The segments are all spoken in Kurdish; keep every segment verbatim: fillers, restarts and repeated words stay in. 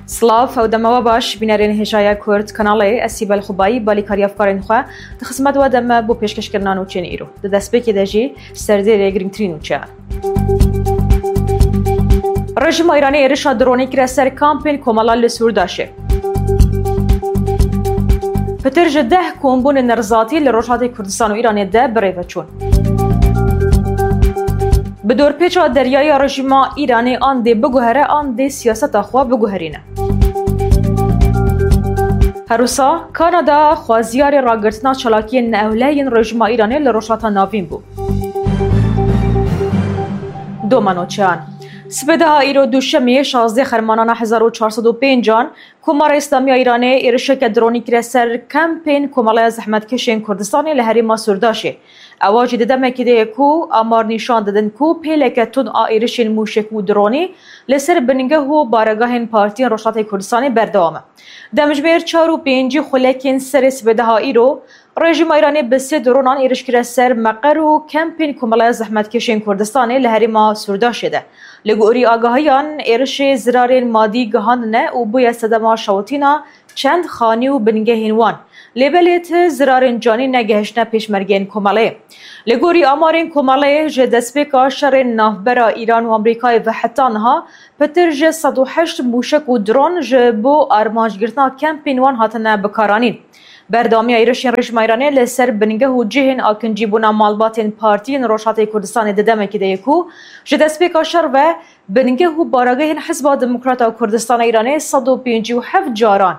Silav, ew dema we baş, bînerên hêjaya Kurd kanalê, ez Sîbel Xubayî, balîkarî hevkarên xwe, di xizmet we de me bo pêşkêşkirina nûçeyên îro. Di destpêkê de jî serdêrê girîngtirîn nûçeyan. Rejîma Îranê êrişa dronî kire ser kampên komela li Sûrdaşê. Pitir ji deh kombûnên nerizatî li Rojhatê Kurdistan û Îranê de bi rê ve çûn. Bi dorpêça deryayî ya rejîma Îranê an dê biguhere an dê siyaseta xwe biguherîne. Her wisa Kanada xwaziyarê ragirtina çalakiyên neewleyên rejîma Îranê li Rojhilata Navîn bû. Doma nûçeyan. Sibê daha îro Duşemê şazdeh Xermanana hezar û çar sed û pênc an Komara Îslamî ya Îranê êrişeke dronî kire ser kempên Komeleya Zehmetkeşên Kurdistanê li herêma Sûrdaşê. Ewa jî di demekê de ye ku amar nîşan didin ku pêleke tund a êrişên mûşek û dronî li ser bingeh û baregahên partiyên Rojhatê Kurdistanê berdewam e. Demjimêr çar û pêncî xulekên serê sibê daha îro, rejîma Îranê bi sê dronan êriş kire ser meqer û kempên Komeleya Zehmetkeşên Kurdistanê li herêma Sûrdaşê de. Li gorî agahiyan, êrişê zirarên madî gihandine û bûye sedema şewitîna çend xanî û bingehên wan. Lê belê ti zirarên canî negehiştine pêşmergeyên komeleyê. Li gorî amarên komeleyê, ji destpêka şerên navbera Îran û Amerîkayê ve heta niha pitir ji sed û heşt mûşek û dron ji bo armancgirtina kempên wan hatine bikaranîn. Berdewamiya êrişên rejîma Îranê li ser bingeh û cihên akincîbûna malbatên partiyên Rojhatê Kurdistanê di demekê de ye ku ji destpêka şer ve bingeh û baragehên Hizba Demokrata Kurdistana Îranê sed û pêncî û heft caran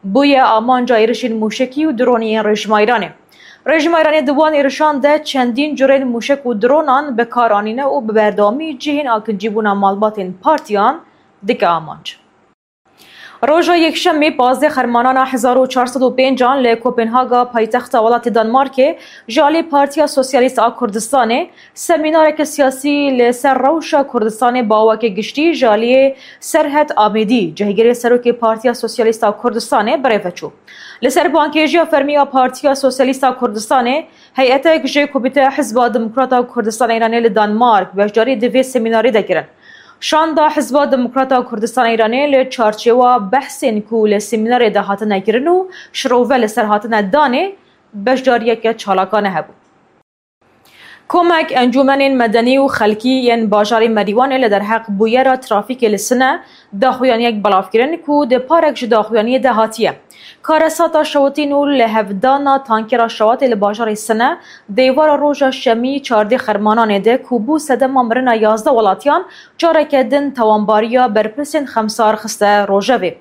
bûye amanca êrişên mûşekî û dronî yên rejîma Îranê. Rejîma Îranê di wan êrişan de çendîn curên mûşek û dronan bi kar anîne û bi berdewamî cihên akincîbûna malbatên partiyan dike amanc. Roja Yekşemê pazdeh Xermanana hezar û çar sed û pênc an li Kopenhaga, paytexta welatê Danmarkê, ji alî Partiya Sosyalîst a Kurdistanê semînareke siyasî li ser rewşa Kurdistanê bi awakê giştî ji aliyê Serhet Amêdî, cihgirê serokê Partiya Sosyalîst a Kurdistanê, bi rê ve çû. Li ser bankêjiya fermî ya Partiya Sosyalîst a Kurdistanê, heyetek ji Komîteya Hizba Demokrata Kurdistanê Îranê li Danmark beşdarî di vê semînarê de kirin. Şanda Hizba Demokrata Kurdistana Îranê li çarçewa behsên ku li semînarê de hatine kirin û şirove li ser hatine danê, beşdariyeke çalakane hebû. Komek encûmenên medenî û xelkî yên bajarê Merîwanê li derheq bûyera trafîkê li Sine daxuyaniyek belav kirin ku di parek ji daxuyaniyê de hatiye. Karesata şewitîn û lihevdana tankera şewatê li bajarê Sine, dêvara roja şemî çardê Xermananê de ku bû sedema mirina yazdeh welatiyan, careke din tawanbariya berpirsên xemsar xiste rojevê.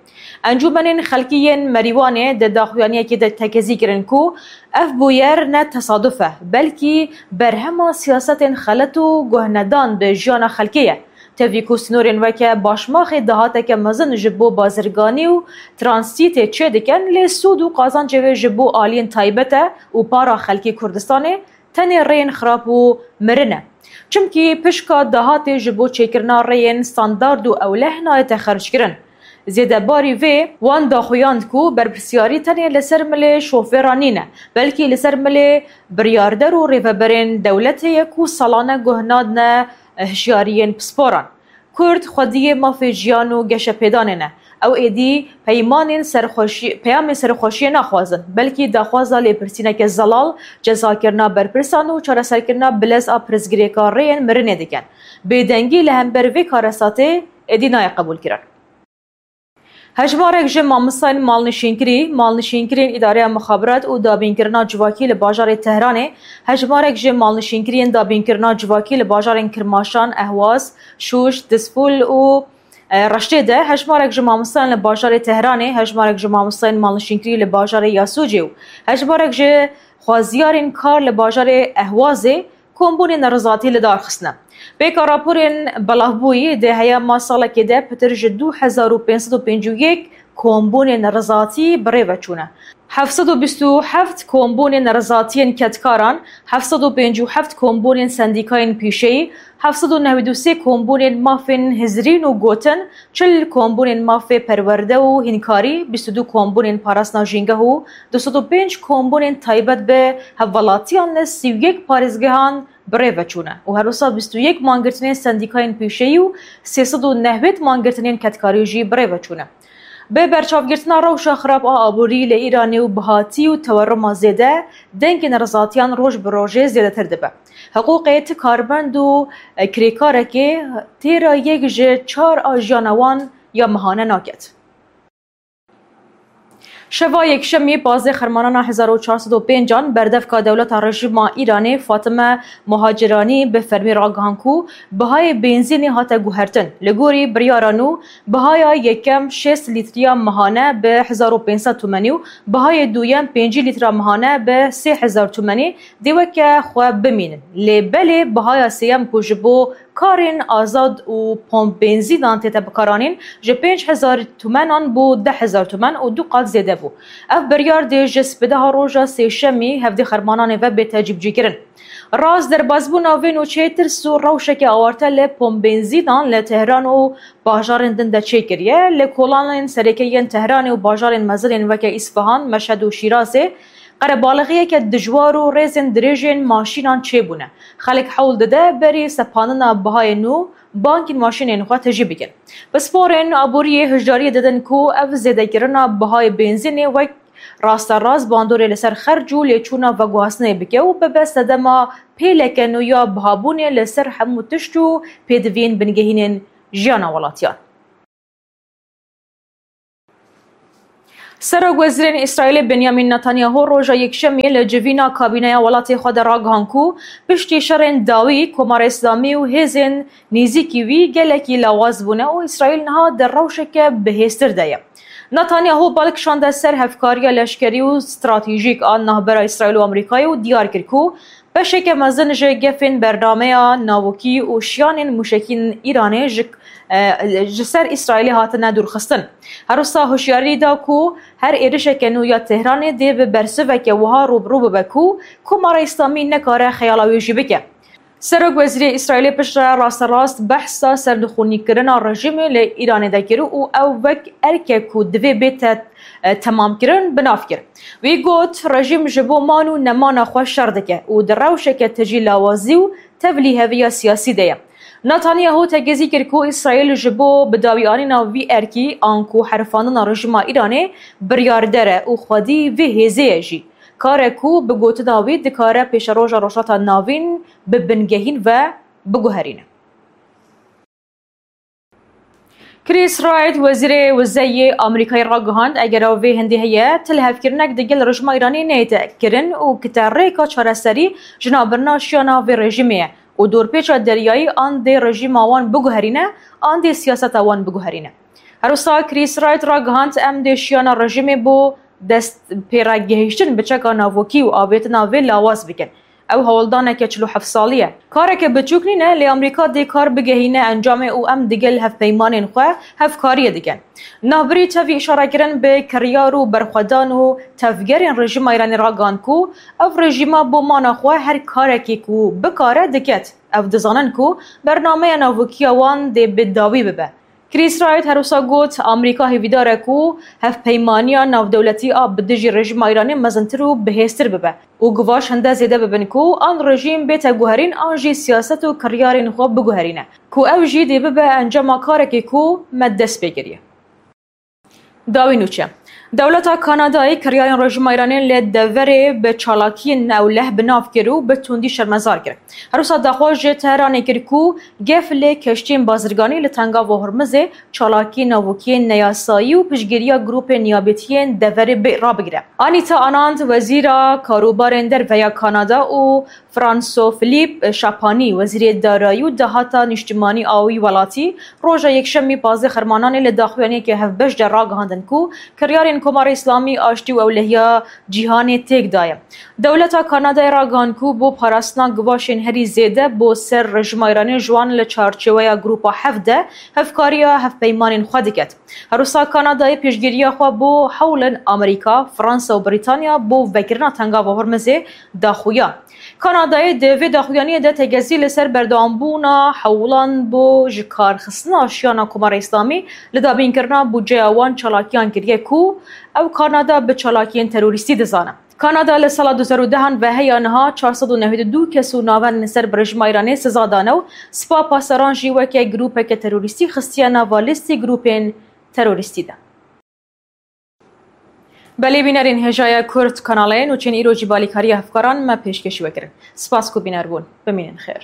Encûmenên Xelkî yên Merîwanê di daxuyaniyekê de tekezî kirin ku ev bûyer ne tesaduf e, belkî berhema siyasetên xelet û guhnedan bi jiyana xelkê ye. Tevî ku sînorên weke Başmaxê dahateke mezin ji bo bazirganî û transîtê çêdikin, lê sûd û qazancê wê ji bo aliyên taybet e û para xelkê Kurdistanê tenê rêyên xirab û mirin e. Çimkî pişka dahatê ji bo çêkirina rêyên standard û ewleh nayête xerckirin. Zêdebarî vê, wan daxuyand ku berpirsiyarî tenê li ser milê şofêran nîne, belkî li ser milê biryarder û rêveberên dewletê ye ku salane guh nadine hişyariyên pisporan. Kurd xwediyê mafê jiyan û geşepêdanê ne. Ew êdî peymanên serxweşî-, peyamên serxweşiyê naxwazin, belkî daxwaza lêpirsîneke zelal, cezakirina berpirsan û çareserkirina bilez a pirsgirêka rêyên mirinê dikin. Bêdengî li hember vê karesatê êdî nayê qebûlkirin. Hejmarek ji mamostayên malnişînkirî, malnişînkirên Îdareya Mixabirat û Dabînkirina Civakî li bajarê Tehranê, hejmarek ji malnişînkiriyên dabînkirina civakî li bajarên Kirmaşan, Ehwaz, Şûş, Dizfûl û, e, Reştê de, hejmarek ji mamostayên li bajarê Tehranê, hejmarek ji mamostayên malnişînkirî li bajarê Yasûcê û hejmarek ji xwaziyarên kar li bajarê Ehwazê kombûnên nerizatî li dar xistine. Pêka raporên belavbûyî, di heyama salekê de pitir ji du hezar û pênc sed û pêncî û yek kombûnên nerizatî bi rê ve çûne. Heft sed û bîst û heft kombûnên nerizatiyên kedkaran, heft sed û pêncî û heft kombûnên sendîkayên pîşeyî, heft sed û newî û sê kombûnên mafên hizrîn û gotin, çil kombûnên mafê perwerde û hînkarî, bîst û du kombûnên parastina jîngeh û du sed û pênc kombûnên taybet bi hevwelatiyan li sî û yek parêzgehan bi rê ve çûne û her wisa bîst û yek mangirtinên sendîkayên pîşeyî û sê sed û newêd mangirtinên kedkarî jî bi rê ve çûne. Bi berçavgirtina rewşa xirab a aborî li Îranê û bihatî û teweruma zêde, dengên rezatiyan roj bi rojê zêdetir dibe. Hiqûqê ti karbend û kirêkarekê têra yek ji çar a jiyana wan ya mehane naket. Şeva Yekşemî pazdeh Xermanana hezar û çar sed û pêncan berdevka dewleta rejîma Îranê Fatime Muhaciranî bi fermî ragihan ku bihayê benzînê hate guhertin. Li gorî biryara nû, bihaya yekem şêst lîtriya mehane bi hezar û pênc sed tumenî û bihayê duyem pêncî lîtra mehane bi sê hezar tumenî dê weke xwe bimînin. Lê belê bihaya sêyem ku ji bo karên azad û pomp benzînan tête bikaranîn, ji pênc hezar tumenan bû deh hezar tumen û du qat zêde bû. Ev biryar dê ji sibedeha roja sêşemî hevdê Xermananê ve bête cîbicîkirin. Rast derbazbûna vê nûçeyê tirs û rewşeke awarte li pomp benzînan li Tehran û bajarên din de çêkiriye. Li kolanên sereke yên Tehranê û bajarên mezin ên weke Îsfahan, Meşhed û Şîrazê qerebalixiyeke dijwar û rêzên dirêjên maşînan çêbûne. Xelk hewl dide berî sepandina bihayê nû bankên maşînên xwe tijî bikin. Pisporên aboriyê hişdariyê didin ku ev zêdekirina bihayê benzînê wek rasterast bandorê li ser xerc û lêçûna veguhastinê bike û bibe sedema pêleke nû ya bihabûnê li ser hemû tişt û pêdiviyên bingehînên jiyana welatiyan. Serokwezîrên Îsraîlê Benyamin Netanyahu roja Yekşemê li civîna kabîneya welatê xwe de ragihan ku piştî şerên dawî Komara Îslamî û hêzên nêzîkî wî gelekî lawaz bûne û Îsraîl niha di rewşeke bihêztir de ye. Netanyahu bal kişande ser hevkariya leşkerî û stratejîk a navbera Îsraîl û Amerîkayê û diyar kir ku beşeke mezin ji gefên bernameya navokî û şiyanên mûşekî yên Îranê ji, e, ji ser Îsraîlê hatine dûrxistin. Her wisa hişyarî da ku her êrişeke nû ya Tehranê dê bi bersiveke wiha rû bi rû bibe ku Komara Îslamî nekare xeyala wê jî bike. Serokwezîrê Îsraîlê piştre rasterast behsa serdixûnîkirina rejîmê li Îranê de kir û ew wek erkek ku divê bête, e, temamkirin, bi nav kir. Wî got, rejîm ji bo man û nemana xwe şer dike û di rewşeke tijî lawazî û tevlîheviya siyasî de ye. Netanyahu tegezî kir ku Îsraîl ji bo bidawîanîna vî erkî, anku herifandina rejîma Îranê biryarder e û xwedî vê hêzê ye jî. Kar e ku bi gotina wî dikare pêşeroja Rojhilata Navîn bi bingehîn ve biguherîne. Chris Wright, wezîrê wizeyê Amerîkayê ragihand, eger ew vê hindê heye, tilhevkirinek digel rejîma Îranê neyête kirin û kite rêka çareserî ji navbirina şiyana vê rejîmê ye û dorpêça deryayî an dê rejîma wan biguherîne, an dê siyaseta wan biguherîne. Her wisa Chris Wright ragihand, em dê şiyana rejîmê bo dest pêre gehiştin bi çeka navokî û avêtina vê lawaz bikin. Ew hewldaneke çil û heft salî ye. Kareke biçûk nîne, lê Amerîka dê kar bigehîne encamê û em digel hevpeymanên xwe hevkariyê dikin. Navbirî tevî îşarekirin bi kiryar û berxwedan û tevgerên rejîma Îranê ragihand ku ev rejîma bo mana xwe her karekî ku bikare diket. Ew dizanin ku bernameya navokî ya wan dê bi dawî bibe. Chris Wright her wisa got, Amerîka hêvîdar e ku hevpeymaniya navdewletî a bi dijî rejîma Îranê mezintir û bihêztir bibe û givaş hinde zêde bibin ku an rejîm bête guherîn an jî siyaset û kiryarên xwe biguherîne, ku ew jî dê bibe encama karekê ku me dest pê kiriye. Dawî nûçe. Dewleta Kanadayê kiryarên rejîma Îranê li deverê bi çalakiyên ewleh bi nav kir û bi tundî şermezar kir. Her wisa daxwaz ji Tehranê kir ku gef li keştiyên bazirganî li Tengava Hormizê çalakiyên navokiyên neyasayî û piştgiriya grûpên niyabetiyên deverê bê-, rabigire. Anita Anand, wezîra karûbarên derve ya Kanada û François Philippe Chapany, wezîrê darayî û dahata nîştimanî a wî welatî, roja Yekşemî pazdeh Xermananê li daxuyaniyeke hevbeş de ragihandin ku kiryarên Komara Îslamî aştî û ewlehiya cîhanê têk daye. Dewleta Kanadayê ragihand ku bo parastina givaşên herî zêde bo ser rejîma Îranê ji wan li çarçeweya Grûpa Heft de hevkariya hevpeymanên xwe diket. Her wisa Kanadayê piştgiriya xwe bo hewlên Amerîka, Fransa û Brîtanya bo vekirina Tengava Hormizê daxuya. Kanadayê di vê daxuyaniyê de tegezî li ser berdewambûna hewlan bo ji kar xistina şiyana Komara Îslamî li dabînkirina budceya wan çalakiyan kiriye ku ew Kanada bi çalakiyên terorîstî dizane. Kanada li sala du hezar û dehan ve heya niha çar sed û newid û du kes û navendên ser bi rejîma Îranê siza dane û Spa Pasdaran jî weke grûpeke terorîstî xistiye nava lîstê grûpên terorîstî de. Belê bînerên hêjaya Kurd kanalê nûçên îro jî balîkariya hevkaran me pêşkêşî we kirin. Spas ku bîner bûn. Bimînin xêr.